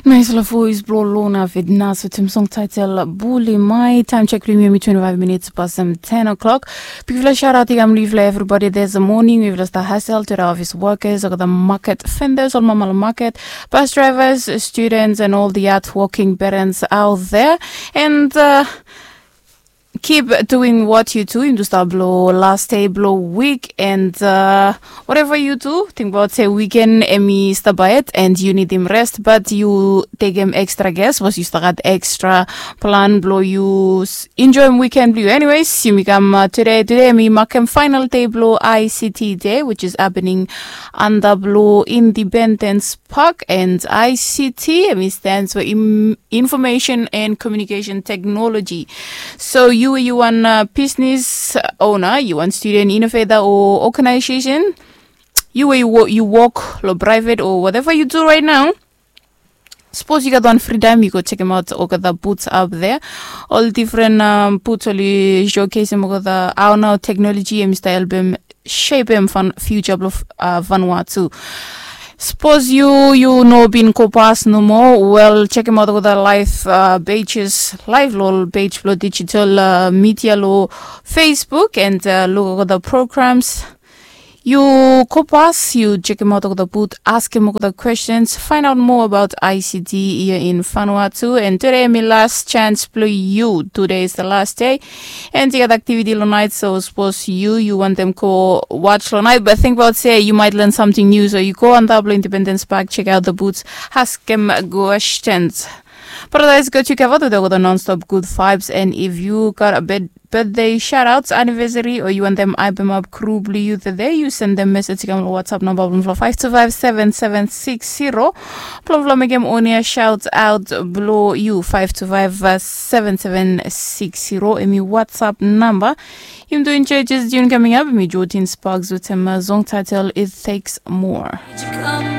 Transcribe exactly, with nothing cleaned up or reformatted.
Naisfala voes blong Lona Vidnas wetem song taitel Buli Mai. Taem jek blong yumi em i twenti faef minits pasem ten o'clock. Bigfala sharat i kam long yufala everybody this morning. Yufala stap hasel to the office workers, olgeta market vendors, ol mama long market, bus drivers, students and all the hard working parents out there. And uh, keep doing what you do. Yumi tu stap long last day blong week and uh, whatever you do, tingbaot se weekend em i stap ahead and you need him rest, but you take him extra gas was you start extra plan blong you enjoy him weekend blong you. Anyways, yumi kam uh, today today em i makem final day blong I C T day, which is happening under blong Independence Park, and I C T em i stands for Information and Communication Technology. So you you wan uh, business owner, you wan student innovator or organization, you wey you work lo private or whatever you do right now. Suppose you got one free time, you go check him out. Okada boots up there, all different um, boots only showcase him okada. Our now technology em style bem shape em fan future blo uh, Vanuatu. Suppose you you no bin go pas no more. Well, check him out with the live uh, pages, live lol page blo digital uh, media lo Facebook and uh, look at the programs. You go pas, you check him out with the boot, ask him with the questions, find out more about I C T here in Vanuatu. And today my last chance blo you. Today is the last day. And you got activity lo night, so suppose you you want them go watch lo night, but think about say you might learn something new. So you go on top lo Independence Park, check out the boots, ask them questions. Paradise got you covered with all the non-stop good vibes, and if you got a bed birthday shoutouts, anniversary, or you want them hype them up crew blue you today, you send them message kam WhatsApp number blum five two five seven seven six zero. Plum plum again on your shout out below you five two five seven seven six zero. Emi WhatsApp number. Him doing churches June coming up. Me Jordan Sparks with him uh, song title It Takes More.